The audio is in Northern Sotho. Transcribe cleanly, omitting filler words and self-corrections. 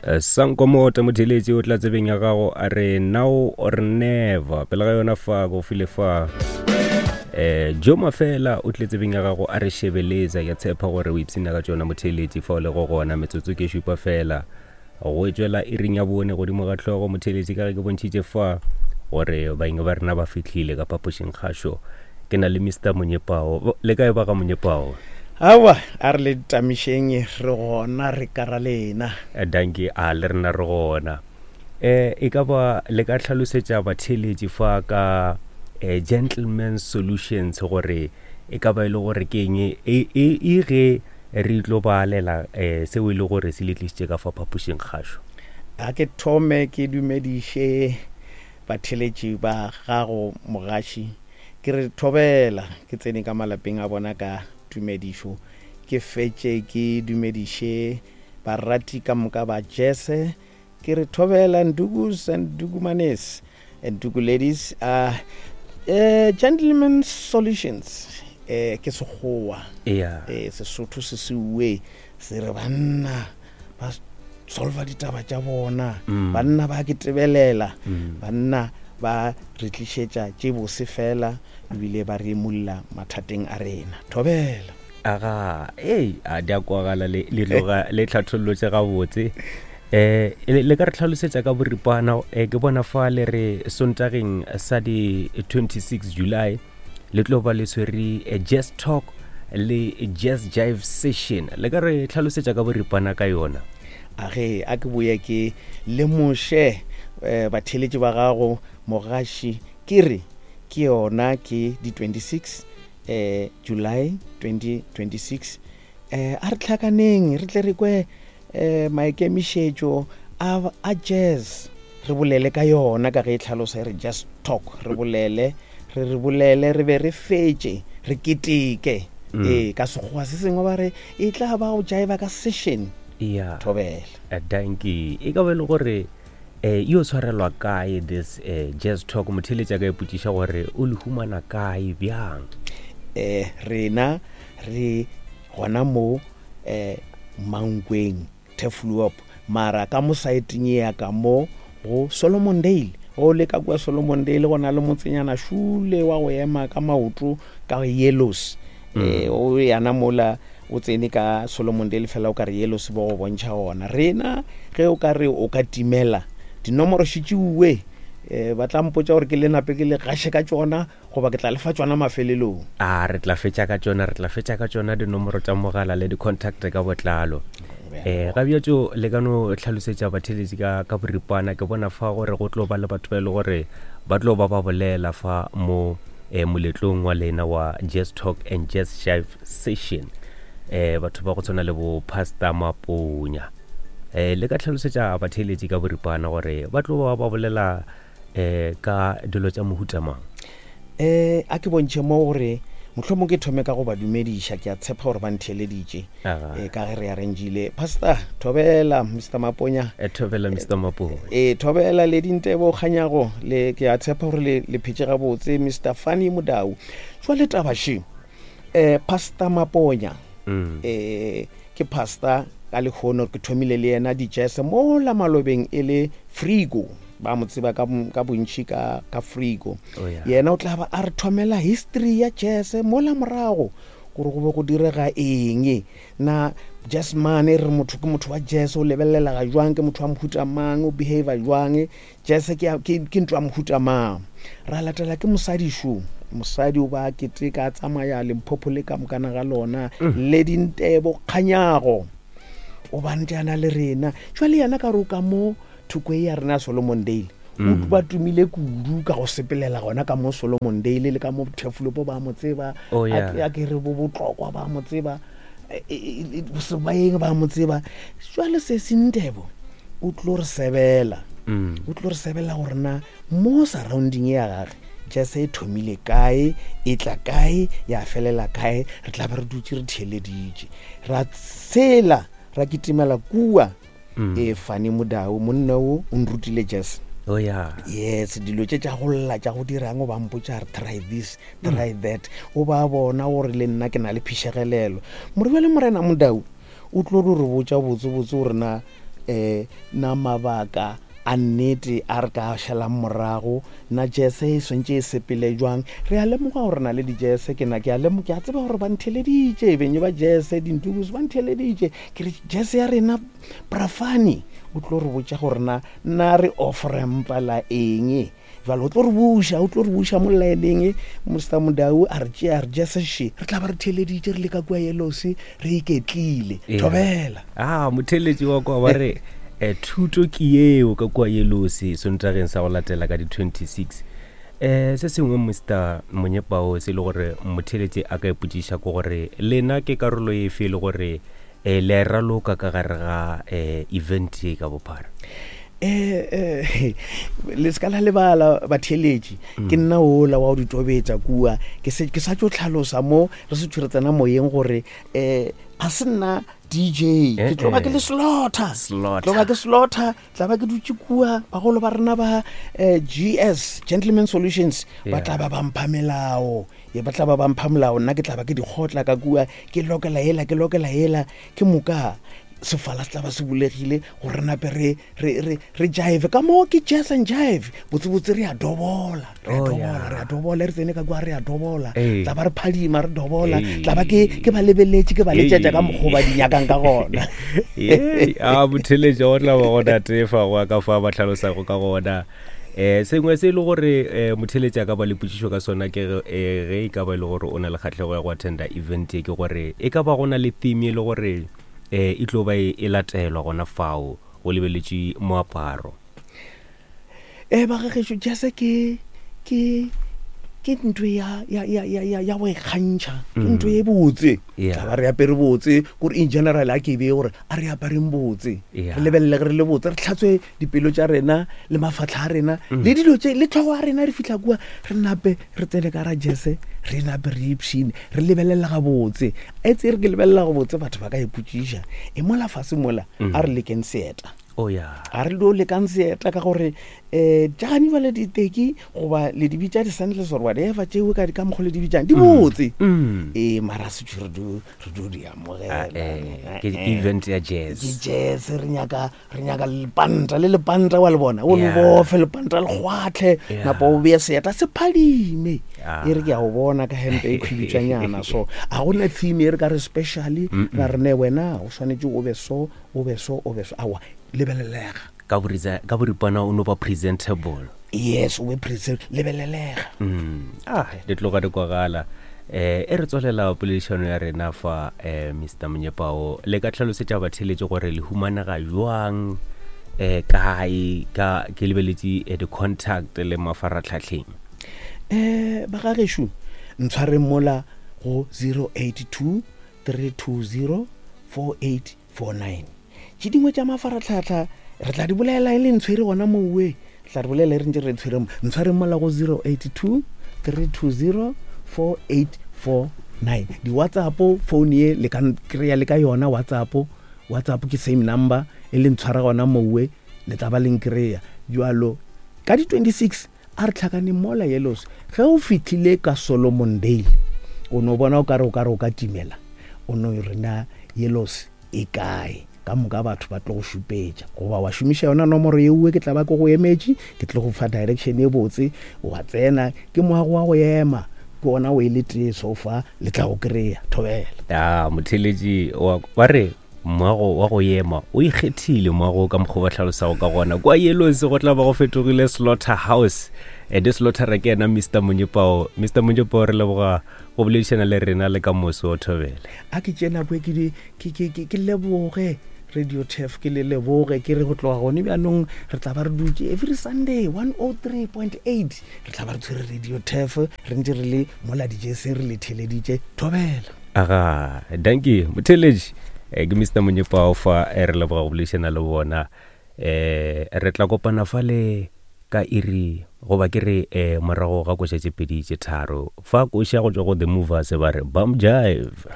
Eh, Sankomota motheletši o tla tsebeng ya gago a re now or never pele ga yona fa go file fa eh jo mafela o tle tsebeng ya gago a re shebeletsa ya tshepa gore o ipsina ka tšona motheletši fa o le go gona metsotso ke šupa fela go tšwela iring ya bone godimo ga hlogo motheletši ka ge ke bontšhitše fa gore baeng ba rena ba fihlile ka phapošing kgašo ke na le mr monyepao le kae ba ga monyepao awa a re le tamišeng re gona re kara lena eh, danke a le rena re gona eh e ka ba le ka hlalosetša batheeletši fa ka eh, gentleman solutions gore e ka ba e le gore ke eng e, e, e ge re tlo balela eh, seo e le gore se le tlišitše ka fa phapošing kgašo a ke thome ke dumediše Batheeletši ba gago mogaši, ke re thobela, ke tsene ka malapeng a bona ka tumedišo, ke fetše ke dumediše barati ka moka ba jese, ke re thobela Ndukus and Ndukumanes and Nduku ladies, uh, uh, gentlemen solutions, eh, ke sekgowa, yeah. eh, Sesotho se se uwe se re banna ba solva ditaba tša bona mm. banna ba ke tebelela mm. banna ba re tlišetša tše bose fela ebile ba re emulla mathateng a rena thobela aga ei a di a kwagala le tloga le tlhathollotse gabotse eh le ka re tlhalosetša ka boripana eh, ke bona fa le re sontageng sa di 26 July le tlo ba le swere eh, jazz talk le jazz jive session le ka re tlhalosetša ka boripana ka yona a ge a ke boye ke lemoše um batheeletši ba gago mogaši ke re ke yona ke di 26 um July 2026 um a re tlhakaneng re tle re kwe um maikemišetšo a, a jazz re bolele ka yona ka ge e tlhalosa e re just talk re bolele re re bolele re be re fetše re keteke mm. ee ka sekgowa se sengwe ba re e tla ba go jaiva ka session yeah. thobela eh, danki e ka ba e le gore eh yo tshwarelwa kae this eh, jazz talk motheletša ka ipotšiša gore o le humana kae bjang eh rena re gona mo eh Mankweng Turfloop mara ka mo saeteng ye ya ka mo go Solomondale go le ka kua Solomondale go na le motsenyana šule wa go ema ka maoto ka yellows mm. eh o yana mola o tsene ka Solomondale fela o ka re yellows bo go bontšha gona rena ge o ka re o ka timela dinomoro šitšiuwe eh ba tla mpotša gore ke le nape ke le gaše ka tšona goba ke tla le fa tšona mafelelong? A re tla fetša ka tšona, re tla fetša ka tšona dinomoro tša mogala le di-contact ka botlalo. Um ga bjatšo le ka no hlalosetša batheeletši ka, ka boripana ke bona fa gore go tlo ba le batho ba e le gore ba tlo ba ba bolela fa mo um moletlong wa lena wa Jazz Talk and Jazz Jive Session. Um batho ba go tshwana le bo Pastor Maponya. Um le ka hlalosetša batheeletši ka boripana gore ba tlo ba ba bolela um ka dilo tša mohuta mang? Um a ke bontšhe mo gore mohlomong ke thome ka go ba dumediša ke a tshepa gore ba ntheeleditše um ka ge re arrangile pastor thobela mr maponya eh, thobela mr maponya e thobela le dintebo kganyago le ke a tshepa gore le le phetše gabotse mr funny modau jwale taba še um pastor maponya um ke pastor ka lekgono ke thomile le yena di-jazz mola malobeng e le frigo ba mo tseba ka, ka bontši ka, ka frigo oh, yeah. yena o tla ba a re thomela history ya jazz mola morago gore go be go direga eng na jazz man e re motho ke motho wa jazz o lebelelega jwang ke motho wa mohuta mang o behavior jwang jazz ke, ke, ke ntho ya mohuta mang ra latela ke mosadi šo mosadi o ba keteka a tsamaya limpopo le ka mokana ga lona mm. le dintebo kganyago o ba ntse a na le rena jwale yena ka re o ka mo thoko e ya rena ya solomon dale o mm. ba tumile kudu ka go sepelela gona ka mo solomon dale le ka mo thefulopo ba mo tseba oh, a ke re bo botlokwa ba mo tseba e, e, e, sebaeng ba mo tseba jwale se sentebo o tlo re sebela mm. o tlo re sebela gore na mo surrounding ya gage jase e thomile kae e tla kae ya felela kae re tla be re dutse re theeleditše ra tshela ra kitimela kua mm. e fane modao monna o o nrutile jazz oh yeah yes dilo tše tša go lla tša go dirang o ba mpotša re try this try mm. that o ba bona gore le nna ke na le phišegelelo more bjale morena modao o tlo re re botša botsebotse gore na um na mabaka a nnete a re ka šalang morago, na jese e swantše e sepele jwang. Re a lemoga gore na le dijese, ke na ke a lemoga, ke a tseba gore ba ntheleditše, benye ba jese, dintukus ba ntheleditše. Ke re jese ya rena Brafani o tlo re botša gore na na re off-rampa la eng. Jwale o tlo re buša, o tlo re buša mo laeneng, Mr Modau a re tšea, a re jese še, re tla ba re theeleditše re le ka kua Yellows, re iketlile. Yeah. Thobela. Ah, motheeletši wa kwa ba re eh, thuto ke yeo ka kua Yellows Sontageng sa go latela ka di-26. Eh, se sengwe Mr Monyepao se e le gore motheeletši a ka ipotšiša ke gore lena ke karolo efe e le gore eh, le a e raloka ka gare ga eh, event ye ka bophara? Eh, eh, le se ka la lebala batheeletši mm. ke nna ola wa go di tobetsa kua ke sa tso tlhalosa mo re se tshwere tsena moyeng gore um ga se nna dj eh, ke tlo ba ke le slaughter tlo ba ke slaughter tla ba ke dutse kua bagolo ba rena ba um gs gentleman solutions ba tla ba ba mpha melao ye ba tla ba ba mpha molao nna ke tla ba ke dikgotla ka kua ke lokela ela ke lokela ela ke moka sefala se tla ba se bulegile gore re nape re re re re jive ka moo ke jazz and jive botsebotse re a dobola re a Oh, dobola yeah. re a dobola re tsene ka kwa re a dobola Ee. tla ba re phadima re dobola Ee. tla ba ke ke ba lebeletše ke ba letšetša ka Ee. mokgwa ba di nyakang ka gona Yei, a motheletša go tla ba gona tefa go ya ka fa ba tlhalosago ka gona um sengwe se e le gore um motheletši a ka ba le potšišo ka sona ke ge eh, ge e ka ba e le gore o na le kgatlhego ya go attenda event ye ke gore e ka ba go na le theme e le gore um e tlo ba e e latelwa gona fao go lebeletše moaparo. E ba gagešo jase ke ke ke ntho ya ya ya ya ya ya go ikgantšha ke ntho e botse Yeah. tla ba re apere botse kore in general a ke be gore a re apareng botse Yeah. re lebelele ge re le botse re tlhatswe dipelo tša rena le mafatlha a rena le dilo tše le tlhogo ya rena re fitlha kua re nape re tsene ka ra jese re nape re ipshine re lebelela gabotse e tse re ke lebelela gabotse batho ba ka ipotšiša e mola fase mola a re lekeng seeta Oh yeah. a re dio lekang seeta ka gore um tšagane jale diteki goba le di bitša di-sandals or whatever tšeo ka ka mokgwa le di bitšang di botse ee mara setšo re dio re dio di amogela Eh, ke ke event ya ke jazz. jazz re nyaka re nyaka lepanta le lepanta wa le bona o le Yeah. bofe lepanta le kgwatlhe Yeah. napa o beye seeta se phadime Ah. e re ke a o bona ka hempe e khwibitšanyana so a gona theme e re ka re specially ra re ne wena o swanetše o be so o be so o be so aowa lebelelega Ka boriza ka boripana o no ba presentable. yes o be present lebelelega Mm. Ah, di tloga di kwagala. Eh, e re tswelela poledišano ya rena fa eh, Mr. Monyepao le ka tlhalosetša batheeletši gore le humanega jwang eh, kae ka ke lebeletše eh, di-contact le mafaratlhatlheng. um ba gagešo ntshwareng mola go 082 320 4849 tše dingwe tša mafaratlhatlha re tla di bolela e le ntshwere gona mowe re tla re bolela e re ntse re tshwere mo ntshwareng mola go 082 320 4849 di-whatsapp phone ye le ka kry-a le ka yona whatsapp whatsapp ke same number e le ntshwara gona mowe le tla ba le nkry-a jalo ka di-26 A re tlhakaneng mola Yellows. Ge o fihlile ka Solomondale, o no bona o ka re o ka re o ka timela. O no re na Yellows e kae? Ka moka batho ba tlo go šupetša. Goba wa šomiša yona nomoro yeuwe ke tla ba ke go emetše, ke tlo go fa direction e botse, wa tsena. Ke moago wa go ema, ke ona o e le tee so far, le tla go kry-a. Thobela. Ya, motheeletši wa, ba re Moago wa go ema o ikgethile moago ka mokgwa ba hlalosago ka gona kwa Yellows go tla ba go fetogile slaughter house ede slaughter ke yena Mr Monyepao. Mr Monyepao re leboga go boledišana le rena le ka moso o thobele. A ke tšee nako e ke ke ke ke leboge Radio Turf ke le leboge ke re go tloga gone bjanong re tla ba re dutše every Sunday 103.8 re tla ba re tshwere Radio Turf re ntše re le mola dijeseng re le theleditše thobela. Aga, dankie. Motheeletši, eh, ke Mr. Monyepao fa eh, re leboga go boledišana le bona. Eh, re tla kopana fale ka iri goba ke re eh, morago ga koša tše pedi tše tharo. Fa koša go tšwa go The Movers ba re Bum Jive.